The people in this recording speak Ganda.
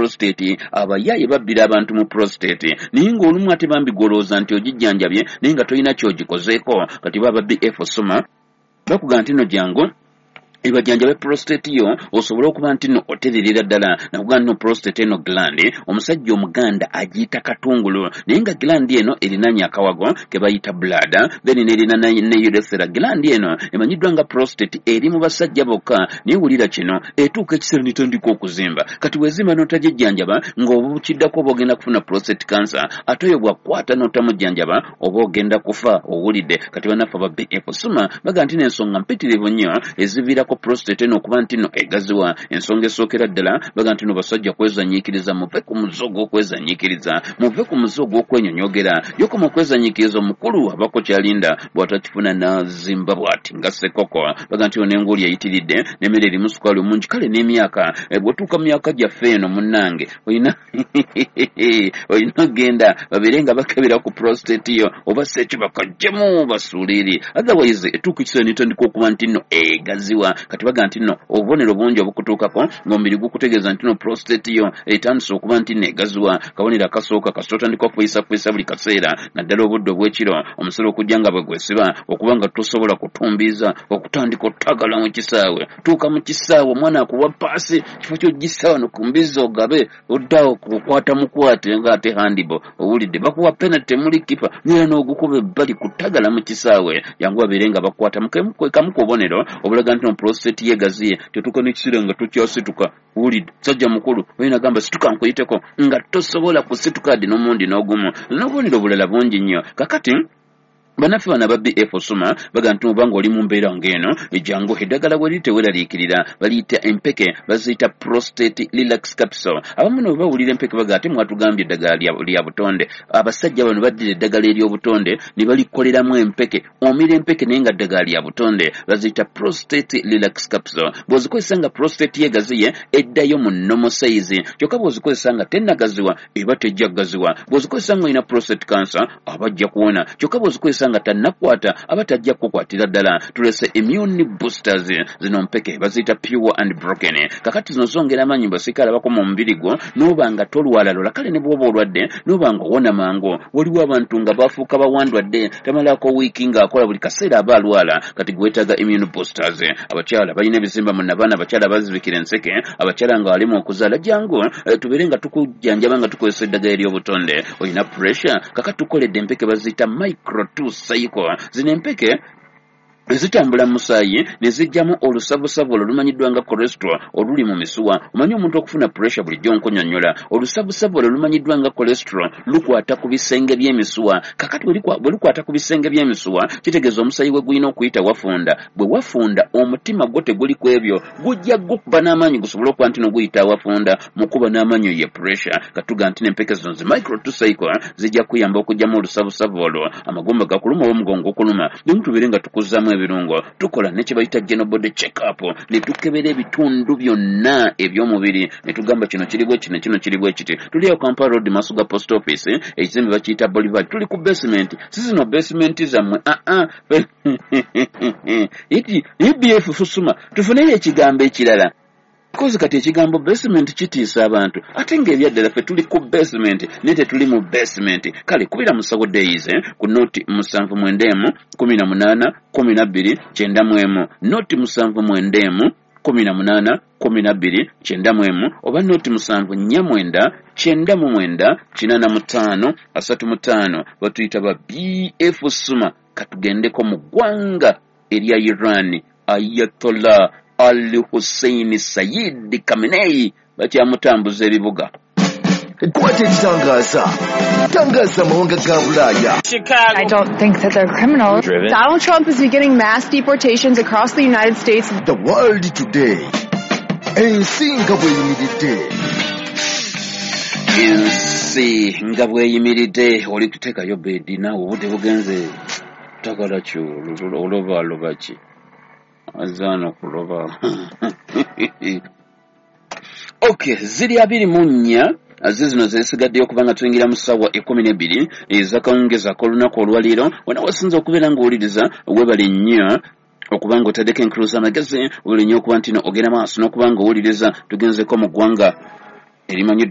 Prostate, abayaaye babbira abantu mu prostate, naye ng'olumu ate bambi gw'olowooza nti ogijjanjabye, naye nga tolina ky'ogikozeeko. Kati baba BF Suma bakugamba nti no jangu ebajjanjabe prostate yo, osobole okuba nti no otererera ddala. Nakugamba nti no prostate eno gland, omusajja Omuganda agiyita katungulu, naye nga gland eno erinanye akawago ke bayita bladder, then nerina ne urethra. Gland eno emanyiddwa nga prostate eri mu basajja bokka, naye wulira kino, etuuka ekiseera netandika okuzimba. Kati bwezimba n'otagijjanjaba, ng'obukiddako oba ogenda kufuna prostate cancer, ate oyo bw'akwata n'otamujjanjaba oba ogenda kufa. Owulidde? Kati bannaffe aba BF Suma baga nti n'ensonga mpitirivu nnyo eziviirako prostate eno okuba nti no egaziwa. Ensonga esookera ddala, baga nti no basajja kwezanyiikiriza. Muve ku muze ogw'okwezanyiikiriza, muve ku muze ogw'okwenyonyogera. Yokoma okwezanyiikiriza, omukulu abako kyalinda, bw'atakifuna n'azimba bw'ati nga sekoko. Baga nti ono enguuli eyitiridde n'emmere erimu sukaali omungi, kale n'emyaka. Bw'otuuka mu myaka gyaffe eno, munnange, olina ogenda babeere nga bakebera ku prostate yo, oba si ekyo bakaggyemu basuule eri, otherwise etuuka ekiseera netandika okuba nti nno egaziwa. Kati baga nti nno obubonero bungi obukutuukako ng'omubiri gukutegeeza nti no prostate yo etandise okuba nti nno egaziwa. Kabonero akasooka, kasita otandika okufuyisafuyisa buli kaseera, naddala obudde obw'ekiro, omusolo okujja nga bwe gwesiba, okuba nga tosobola kutumbiiza, okutandika otagala mu kisaawe. Tuuka mu kisaawe, omwana akuwa paasi, kifo kyogissa wano ku mbizzi ogabe, oddawo kukwata mukwate ng'ate handball. Owulidde? Bakuwa penalty, temuli kipa nera n'ogukuba ebbali, kutagala mu kisaawe. Jangu babeere nga bakwata kamu ku bubonero obulaga nti no prostate yegaziye. Tetuuka n'ekiseera nga tokyasituka. Wulidde, sajja mukulu oyina gamba situka nkuyiteko, nga tosobola kusituka ddi n'omundi n'ogumu, n'obubonero obulala bungi nnyo. Kakati bannaffe bano aba BF Suma baga nti oba ng'oli mu mbeera ng'eno, jangu, eddagala bwe liri, teweeraliikirira. Baliyita empeke, baziyita Prostate Relax Capsule. Abamu no bwe bawulira empeke baga, ate mwatugambye eddagala lya butonde. Abasajja bano baddira eddagala ery'obutonde ne balikoleramu empeke. Omira empeke naye nga ddagala lya butonde, baziyita Prostate Relax Capsule. Bw'ozikozesa nga prostate yegaziye, eddayo mu normal size. Kyokka bw'ozikozesa nga tennagaziwa, eba tejja kugaziwa. Bw'ozikozesa nga olina prostate cancer, aba ajja kuwona. Kyokka bw'ozikozesa nga tannakwata, aba tajja kukukwatira ddala. Tulese immune boosters. Zino mpeke baziyita Pure and Broken. Kakati zino zongera amaanyi basirikale abakoma omubiri gwo, n'oba nga tolwala lola. Kale ne bw'oba olwadde, n'oba nga owona mangu. Waliwo abantu nga bafuuka bawandwadde, tamalako wiiki ng'akola, buli kaseera aba alwala. Kati gwetaaga immune boosters. Abakyala balina ebizimba mu nabaana, abakyala bazibikira enseke, abakyala nga walimu okuzaala, jangu tubeere nga tukujjanjaba nga tukozesa eddagala ery'obutonde. Olina pressure, kakati tukoledde empeke baziyita Micro 2 Cycle. Zino empeke zitambula mu musaayi ne zijjamu olusavusavu olwo lumanyiddwa nga cholesterol oluli mu misuwa. Omanyi omuntu okufuna pressure, bulijjo nkunyonnyola, olusavusavu olwo lumanyiddwa nga cholesterol lukwata ku bisenge by'emisuwa. Kakati bwe lukwata ku bisenge by'emisuwa, kitegeeza omusaayi we gulina okuyita wafunda. Bwe wafunda, omutima gwo teguli ku ebyo, gujja gukuba n'amaanyi gusobole okuba nti noguyita awafunda. Mukuba n'amaanyi ye pressure. Katuga nti n'empeke zino zi Micro 2 Cycle zijja kuyamba okugyamu olusavusavu olwo. Amagumba gakuluma oba omugongo gukuluma, nemu tubeere nga tukuzaamu ebirungo. Tukola ne kye bayita general body check up, ne tukebera ebitundu byonna eby'omubiri, ne tugamba kino kiri bwe kino, kino kiri bwe kiti. Tuli awo Kampala Road, maaso ga post office, ekizimbe bakiyita Bolivar. Tuli ku basement, si zino basement zammwe. Aa, BF Suma, tufuneyo ekigambo ekirala, kozi kati ekigambo basement kitiisa abantu, ate ng'ebyaddala ffe tuli ku basement naye tetuli mu basement. Kale kubira musawo Days ku 079 18 12 91, 079 18 12 91, oba 0749 99 85 35. Batuyita ba BF Suma. Katugendeko mu ggwanga erya Iran. Ayatollah Ali Hussein Sayid Khamenei bakyamutambuza ebibuga. Kwata ekitangaza, tangaza amawanga ga Bulaaya. I don't think that they're criminals. Donald Trump is beginning mass deportations across the United States. The World Today, ensi nga bweyimiridde. Ensi nga bweyimiridde. Oli kuteekayo bedi naawe, obudde bugenze, tagala ki oloba aloba ki azaana okuloba. Okay, ziri 24 zizino zesigaddeyo kubanga tuyingira mu ssaawa 12 ezakawungezi ak'olunaku olwaleero. Wena wasinza okubeera ng'owuliriza, webale nnyo okuba nga otaddeko enkulu z'amagezi. Webale nnyo okuba nti no ogenda maaso n'okuba nga owuliriza. Tugenzeko mu ggwanga erimanyiddwa